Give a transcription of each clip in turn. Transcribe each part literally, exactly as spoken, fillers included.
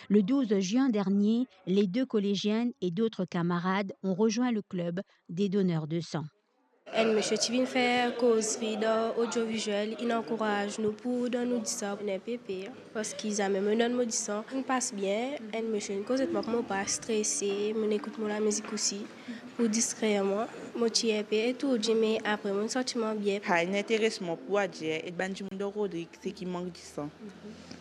Le douze juin dernier, les deux collégiennes et d'autres camarades ont rejoint le club des donneurs de sang. Enn misie ti vinn fer kozri dan odioviziel, inn ankouraz nou pou donn nou disan, nou inpe per, parski zame mo donn mo disan, inn pas bien. Enn misie inn koz ek mwa pou mo pa strese, mo ekout mo lamizik osi pou distrer mwa. Mo ti inpe etourdi, me apre mo santi mwa bien. Pa enn interesman pou adir ek bann dimoun dan Rodrig, seki mank disan.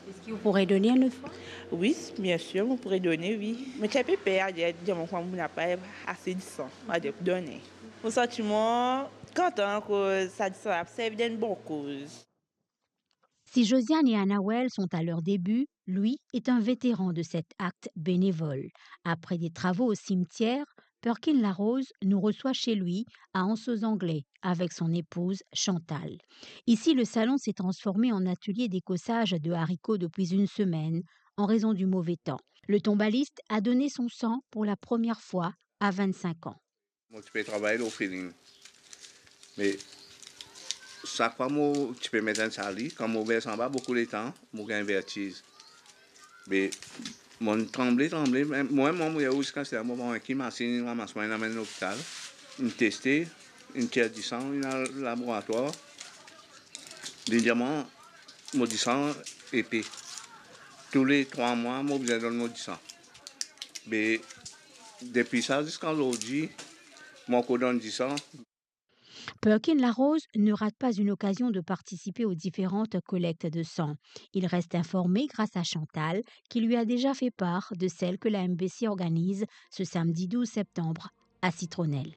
Est-ce que vous pourrez donner une autre fois ? Oui, bien sûr, vous pourrez donner, oui. Mo ti inpe per adir, dir mwa kouma mo napa ase disan, adir pou done. Mo santi mwa kontan akoz sa disan la pou servi dan enn bon koz. Si Josiane et Anawel sont à leur début, lui est un vétéran de cet acte bénévole. Après des travaux au cimetière, Perkin Larose nous reçoit chez lui à Anse aux Anglais avec son épouse Chantal. Ici, le salon s'est transformé en atelier d'écossage de haricots depuis une semaine en raison du mauvais temps. Le tombaliste a donné son sang pour la première fois à vingt-cinq ans. Mo ti pe travay lor feeling. Me sak fwa mo ti pe met enn sali, kan mo vers anba boukou letan, mo gagn vertiz. Me mo tranble, tranble, me mwa, mo, mo, ziska sa, mo pran ki masinn, ramas mwa, inn amenn lopital, inn teste, inn tir disan, inn al laboratwar. Li dir mwa, mo disan epe. Toule trwa mwa, mo bizin donn mo disan. Me depi sa ziska zordi, mo ankor donn disan. Perkin Larose ne rate pas une occasion de participer aux différentes collectes de sang. Il reste informé grâce à Chantal, qui lui a déjà fait part de celle que la M B C organise ce samedi douze septembre à Citronnelle.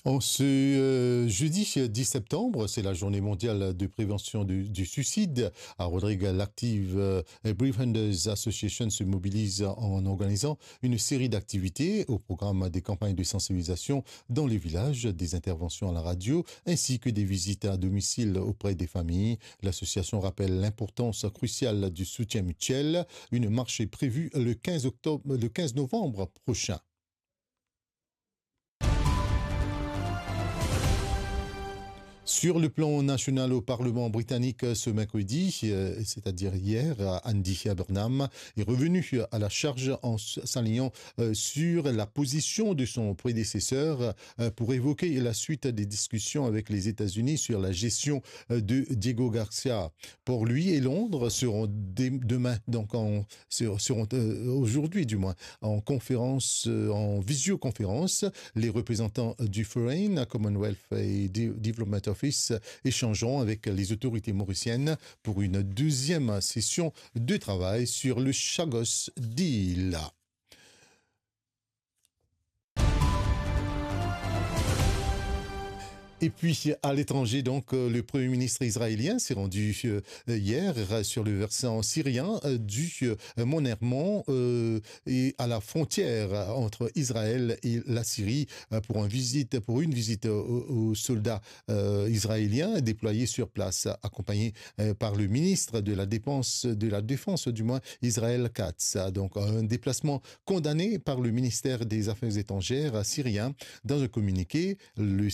En ce, euh, jeudi dix septembre, c'est la journée mondiale de prévention du, du suicide. À Rodrigues, l'active, euh, Befrienders Association se mobilise en organisant une série d'activités au programme des campagnes de sensibilisation dans les villages, des interventions à la radio, ainsi que des visites à domicile auprès des familles. L'association rappelle l'importance cruciale du soutien mutuel. Une marche est prévue le quinze octobre, le quinze novembre prochain. Sur le plan national au Parlement britannique ce mercredi, euh, c'est-à-dire hier, Andy Burnham est revenu à la charge en s-, s'alignant, euh, sur la position de son prédécesseur, euh, pour évoquer la suite des discussions avec les États-Unis sur la gestion, euh, de Diego Garcia. Pour lui, et Londres seront dé-, demain, donc en, ser-, seront, euh, aujourd'hui du moins, en conférence, euh, en visioconférence. Les représentants du Foreign, Commonwealth et De-, Development Office échangeront avec les autorités mauriciennes pour une deuxième session de travail sur le Chagos Deal. Et puis, à l'étranger, donc, euh, le Premier ministre israélien s'est rendu, euh, hier, euh, sur le versant syrien, euh, du, euh, Mont Hermon, euh, et à la frontière entre Israël et la Syrie, euh, pour un visite, pour une visite aux, aux soldats, euh, israéliens déployés sur place, accompagné, euh, par le ministre de la Défense, de la Défense, du moins, Israël Katz. Donc, un déplacement condamné par le ministère des Affaires étrangères syrien. Dans un communiqué, le,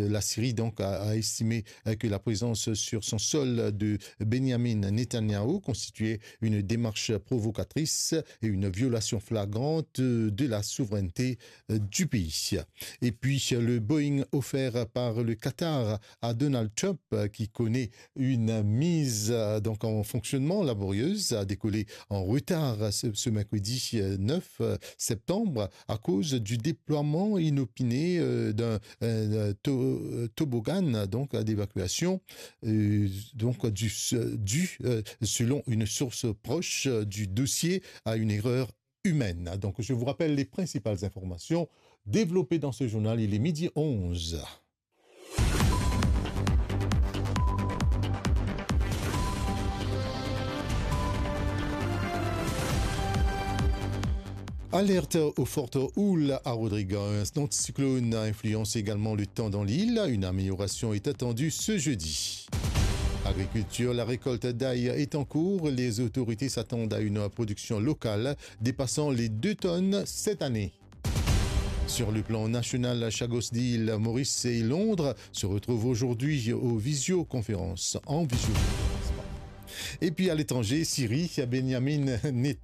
la Syrie donc a, a estimé, euh, que la présence sur son sol de Benjamin Netanyahu constituait une démarche provocatrice et une violation flagrante de la souveraineté, euh, du pays. Et puis, le Boeing offert par le Qatar à Donald Trump, euh, qui connaît une mise, euh, donc en fonctionnement laborieuse, a décollé en retard ce, ce mercredi, euh, neuf, euh, septembre à cause du déploiement inopiné, euh, d'un, euh, to-, euh, toboggan, donc, euh, d'évacuation, euh, donc, du, du, euh, selon une source proche, euh, du dossier, à une erreur humaine. Donc, je vous rappelle les principales informations développées dans ce journal. Il est midi onze. Alerte aux fortes houles à Rodrigues. Un anticyclone influence également le temps dans l'île. Une amélioration est attendue ce jeudi. Agriculture, la récolte d'ail est en cours. Les autorités s'attendent à une production locale dépassant les deux tonnes cette année. Sur le plan national, Chagos Deal, Maurice et Londres se retrouvent aujourd'hui aux visioconférences, en visioconférence. Et puis à l'étranger, Syrie, Benjamin Netanyahu